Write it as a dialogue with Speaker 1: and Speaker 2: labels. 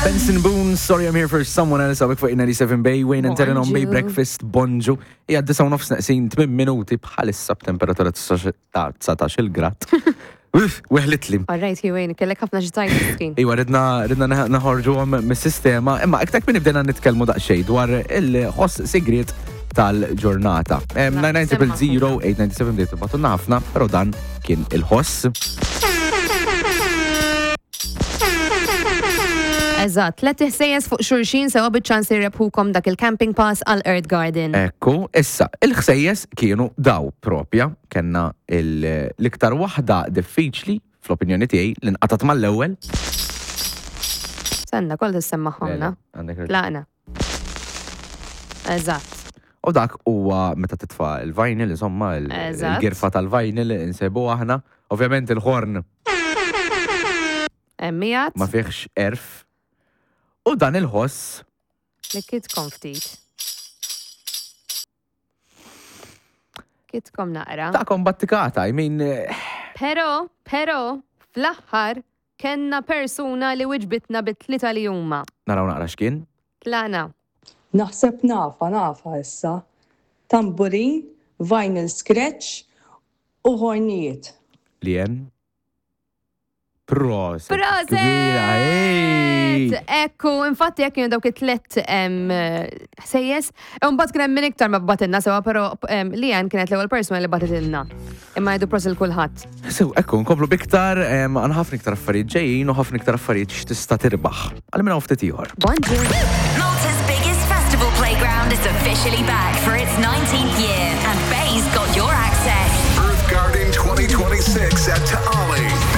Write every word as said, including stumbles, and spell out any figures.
Speaker 1: Benson Boone, "Sorry I'm Here for Someone Else", hawnhekk fuq ninety-seven Bay, Wayne and Terren on Bay
Speaker 2: Bonġu.
Speaker 1: Breakfast, bonġu. Hija disgħa u nofs neqsin tmien minuti bħalissa b'temperatura ta' dsatax-il grad. Uff, weħlitli.
Speaker 2: All right, Wayne, kellek ħafna ġtajt miskin.
Speaker 1: Iwa, ridna ridna naħorġu għom mis-sistema, imma iktar minn bdejna nitkellmu daqsxejn dwar il-ħoss sigriet tal-ġurnata. nine nine zero zero eight nine seven bdejt tibagħtulna ħafna, pero dan kien il-ħoss.
Speaker 2: Eżatt, tliet ħsejjes fuq xulxin sewa biċ-ċans li rebħukom dak il-camping pass għal Earth Garden.
Speaker 1: Ekku, issa, il-ħsejjes kienu daw propja, kellna il- l-iktar waħda diffiċli, fl-opinjoni tiegħi, li nqatat mal-ewwel.
Speaker 2: Senna, koll tissemmaħomna.
Speaker 1: Għandek raġun.
Speaker 2: Tlaqna. Eżatt.
Speaker 1: U dak huwa meta titfa' il-vinyl, insomma, il-
Speaker 2: Eżatt.
Speaker 1: il-girfa tal-vinyl insebu aħna. Ovvjament il-ħorn
Speaker 2: Emmijat,
Speaker 1: ma fiħx erf. U dan il-ħoss
Speaker 2: li kitkom ftit. Kitkom naqra.
Speaker 1: Ta' kombattikata, I mean, eh,
Speaker 2: Pero, pero, fl-aħħar kellna persuna li wiġbitna bit-tlieta li huma.
Speaker 1: Naraw naqra x'kien.
Speaker 2: Tlaqna.
Speaker 3: Naħseb nafa, nafa issa. Tamburin, vinyl scratch u ħornijiet.
Speaker 1: Lien. Proset.
Speaker 2: Proset!
Speaker 1: Kbira, ej!
Speaker 2: Ekku, infatti jekk kienu dawk it-tlet em, ħsejjes, mbagħad kien hemm min iktar ma bagħtilna sewa, però em, Lian kienet l-ewwel persuna li bagħtitilna. Imma jgħidu prosit lil kulħadd.
Speaker 1: So, ekku, nkomplu biktar, em, għandna ħafna iktar affarijiet ġejjin u ħafna iktar affarijiet x'tista' tirbaħ. Għal minn hawn ftit ieħor.
Speaker 2: Bonġu.
Speaker 4: Malta's biggest festival playground is officially back for its nineteenth year, and Bay's got your access.
Speaker 5: Earth Garden twenty twenty-six at Ta'ali.